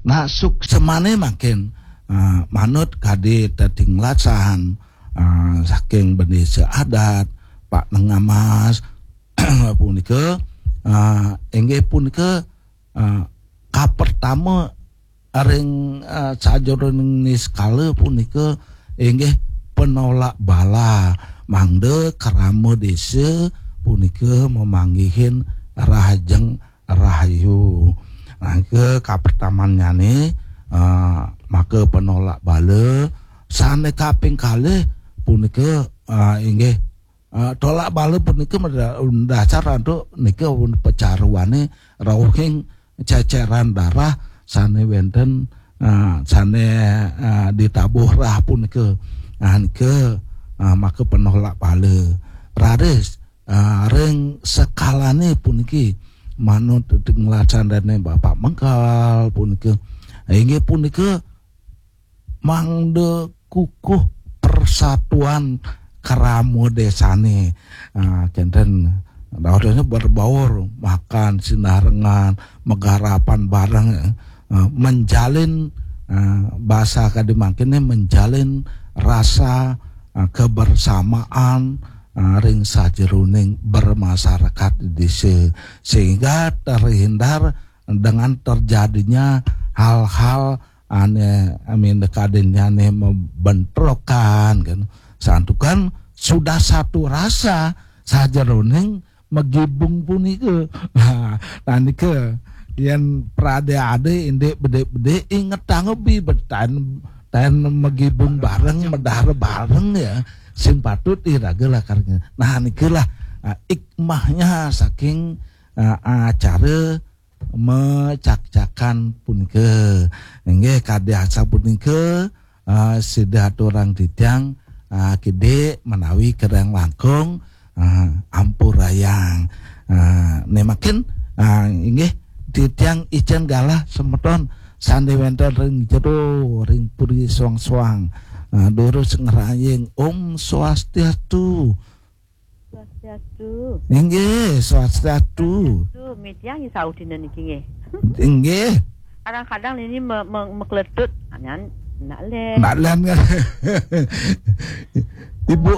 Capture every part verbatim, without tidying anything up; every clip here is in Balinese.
Nah, suksmané mangkin, ah, manut kadi tetinglasan, ah, saking bendésa adat, Pak Nengamas, punika, ah, inggih punika, ah, kapertama ring, ah, sajeroning niskala punika inggih penolak bala, mangda krama désa punika mamanggihin rahajeng rahayu. Nah, ke kapertamannyané, ah, maka penolak bala, sané kaping kalih punika, ah, inggih, ah, tolak bala punika meda-, dasar antuk nika pecaruané rauhing ceceran darah sané wénten, ah, sané, ah, ditabuh rah punika. Nah, nika, ah, maka penolak bala. Raris, ah, ring sekalané puniki manut tinglasan dané Bapak Mengkal punika. Inggih punika mangda kukuh persatuan krama désané. Ah, kénten dawetnya berbaur, makan sinarengan, magarapan bareng, ah, menjalin, ah, basa kadi mangkiné menjalin rasa, ah, kebersamaan, ah, ring sajeroning bermasyarakat di désa, sehingga terhindar dengan terjadinya hal-hal ané amin kadényané membentrokan kan. Santukan sudah satu rasa sajeroning magibung punika. Nah, nah nika yén pradé-adé indik bedik-bedik ingetang ubi betaen taen magibung bareng, medar bareng ya. Sing patut iraga lakarnya. Nah, nikalah, ah, hikmahnya saking, ah, acara mecakcakan punika. Inggih kadi asapunika, ah, sida aturang titiang, ah, kidik menawi kirang langkung, ah, ampurayang. Ah, nemakin, ah, inggih titiang icén galah semeton sané wénten ring jero ring puri soang-soang. Ah, durus ngraying Om Swastiastu. Swastiastu. Inggih, Swastiastu. Swastiastu. Mitiang isaudina niki nggih. Inggih. Kadang-kadang ini me, me, mekletut, anyan nak len. Nak len kan. Ibu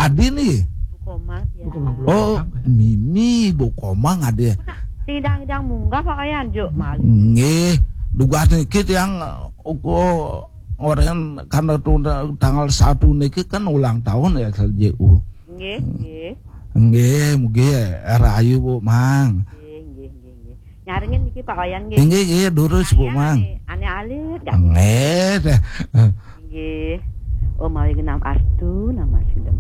Adi nih. Bu Komang ya. Oh, Mimi Bu Komang Adi. Tidang-tidang munggah Pak Ayan juk mari. Nggih, dugas niki tiang uga orang karena tanggal satu niki kan ulang tahun ya J U. Nggih, nggih. Nggih, mugi rahayu Bu Mang. Nggih, nggih, nggih, nggih. Nyarengin niki Pak Wayan nggih. Nggih, nggih, durus Bu Mang. Ane, ane alit kan. Nggih, teh. Nggih. Oh, mawi genam astu nama sidem.